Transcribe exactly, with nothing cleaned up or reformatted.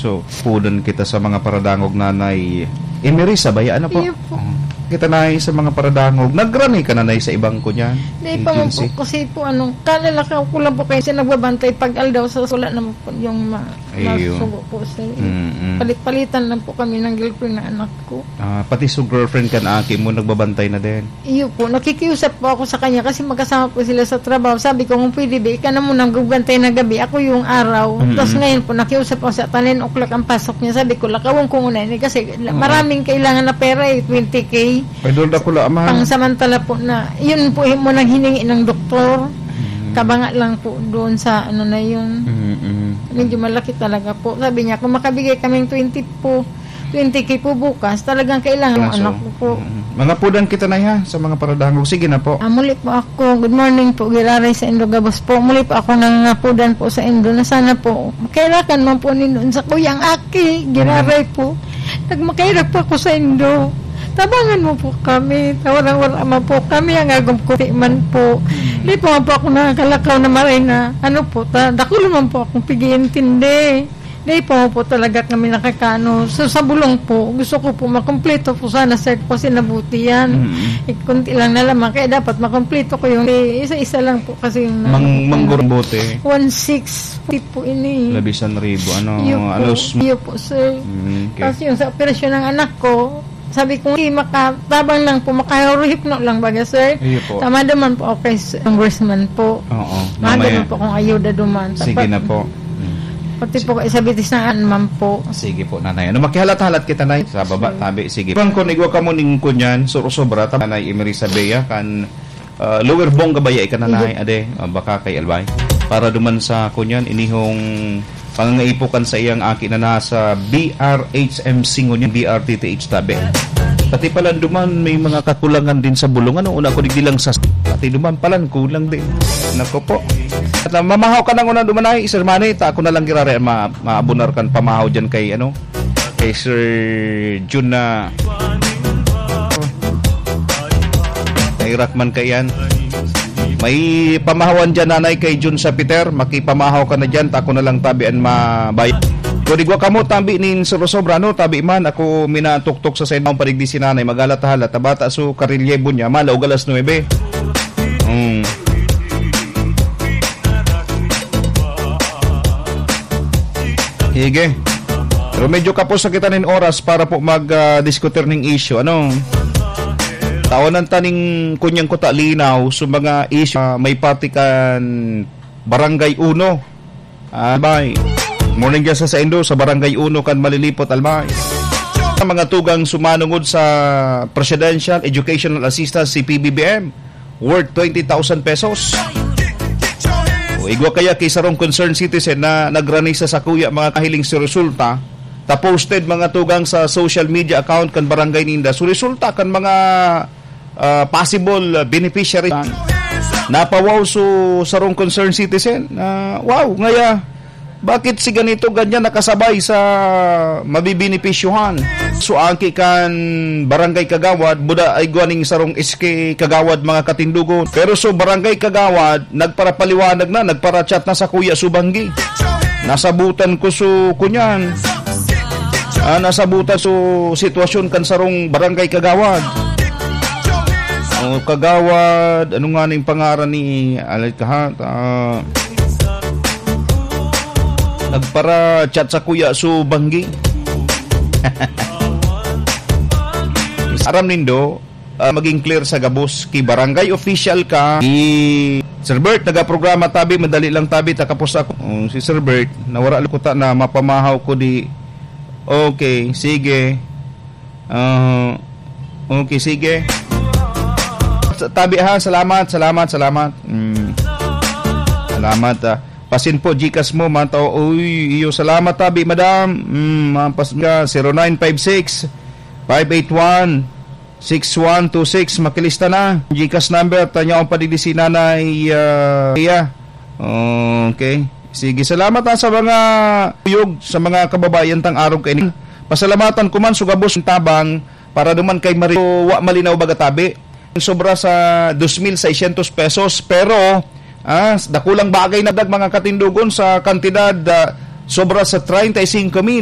So, pudan kita sa mga paradangog, Nanay Emerisa, baya, ano po? Iyo po. Oh. Kita, Nay, sa mga paradangog. Nagrani ka, Nanay, sa ibang kunyan? Di pa man po, agency? Kasi po, ano, kalalakaw ko lang po kasi nagbabantay pag aldaw sa wala naman po yung ma-, Iyo. masugo po, sir. Mm-mm. Palit-palitan lang po kami ng girlfriend na anak ko. Ah, pati so girlfriend kan aki mo, nagbabantay na din? Iyo po, nakikiusap po ako sa kanya kasi magkasama po sila sa trabaho. Sabi ko, "Kung pwede, be, ika na muna ang magbantay na gabi, ako yung araw." Mm-mm. Tas ngayon po, nakiusap ako sa ten o'clock ang pasok niya. Sabi ko, "Lakawan ko muna ini kasi la-, Oo. maraming kailangan na pera eh, twenty K." Ay, doon dakula, ma'am. Pangsamantala po na, yun po yung muna hiningi ng doktor. Mm. Kabanga lang po doon sa ano na yun. Mm-mm. Medyo malaki talaga po. Sabi niya, "Kung makabigay kaming twenty po, twenty K po bukas, talagang kailangan ng Kaso, anak ko po." Mm. Mga pudan kita, Nay, ha, sa mga paradangog. Sige na po. Ah, muli po ako. Good morning po, giraray sa Indo gabos po. Muli po ako nangangapudan po sa Indo na sana po, kairakan man po nin sa kuyang aki, giraray Mm. po. Nagmakaira po ako sa Indo. Tabangan mo po kami. Tawarang wala man po kami. Ang agom ko, di man po. Mm. Di po man po ako nakakalakaw na maray na. Ano po, ta, dakul man po akong pag-iintindi. Di po po talaga kami nakakaano. So, sa bulong po, gusto ko po makumpleto po sana, sir, po kasi nabuti yan. Mm. Eh, kunti lang na lamang, kaya dapat makumpleto ko yung, eh, isa-isa lang po kasi yung Mang-, manggurang bote. One six po ini. Labisan ribo, ano, Yun po. Alos. Yun po, sir. Mm, okay. Tapos yung sa operasyon ng anak ko, sabi ko, "Hindi, makatabang lang po, makahuruhipno lang baga, sir." Iyo po. Tama naman po, okay, sir. Congressman po. Oo, Mahal mamaya. naman po kung ayuda duman. Sige Dapat na po. Mm. Pati po kay sabitis na an man po. Sige po, Nanay. Ano, makihalat-halat kita, Nay? Sa baba, Sige. tabi. Sige. Bang kung igwa ka mo ning kunyan, sur-, sobra, ta-, Nanay Emerisa Bea, kan, ah, Lower Bonga Baya, ikananay, Hindi. ade, ah, baka kay Albay. Para duman sa kunyan, inihong pangangaipo kan sa iyang aki na nasa B R H M C ngunyan, B R T T H tabi. Pati pala duman, may mga kakulangan din sa bulong. Ano, una ko digdi lang sa, pati duman palan, kulang din. Nako po. At, ah, mamahaw ka nang una duman ay, Sir Manny, ta ako na lang girare ma-, maabunar kan pamahaw dyan kay, ano, kay Sir Jun na nairak man kaiyan. May pamahawan dyan, Nanay, kay Jun sa Peter. Makipamahaw ka na dyan, ta ako na lang tabi an mabayad. Kung igwa ka mo, tabi nin sobra-sobra, no? Tabi man, ako minatuktok sa sainaw, padigdi si Nanay, magalat-halat, tabata, so, karelyebo niya, malaog alas nuebe. Mm. Sige. Pero medyo kapos na kita nin oras para po mag, ah, diskutir ning issue. Ano? Tawanan ta ning kunyang kuta linaw sa mga issue, ah, may pati kan Barangay Uno. Ah, bye. Morning dyan sa, sa Indo, sa Barangay Uno kan Malilipot, Albay. Ang mga tugang sumanungod sa Presidential Educational Assistance, si P B B M, worth twenty thousand pesos. O igwa kaya kay sarong concerned citizen na nagrani sa sakuya mga kahiling si resulta, ta posted mga tugang sa social media account kan barangay ninda. So resulta kan mga, ah, possible, ah, beneficiary. Napawaw so sarong concerned citizen. Ah, wow, ngaya, bakit si ganito ganyan nakasabay sa mabibenepisyohan? So, aki kan barangay kagawad, buda ay gwaning sarong S K kagawad, mga katindugon. Pero so barangay kagawad, nagparapaliwanag na, nagparachat na sa Kuya Subanggi. Nasabutan ko so kunyan. Ah, nasabutan so sitwasyon kan sarong barangay kagawad. Oh, kagawad, ano nga na yung pangaran ni, alay ka ha? Ah, nagpara-chat sa Kuya Subanggi. Aram nindo, ah, maging clear sa gabos. Ki barangay official ka, ki Sir Bert, nagaprograma tabi, madali lang tabi, takapos ako. Oh, si Sir Bert, nawara lang kuta na mapamahaw ko di. Okay, sige. Ah, okay, sige. Sa-, tabi ha, salamat, salamat, salamat. Mm. Salamat, ah. Pasin po, Gcash mo, man tao. Uy, iyo, salamat, tabi, madam. Mm, mampas ka, zero nine five six, five eight one, six one two six, makilista na. Gcash number, tanya akong padigdi si Nanay, ah, Ria. Okay. Sige, salamat, ah, sa mga uyog, sa mga kababayan tang arog kaini. Pasalamatan ko man, sugabos ang tabang, para duman kay Mario, wa malinaw baga tabi. Sobra sa dos mil seiscientos pesos, pero, ah, dakulang bagay na dag mga katindugon sa kantidad, ah, sobra sa treinta y cinco mil.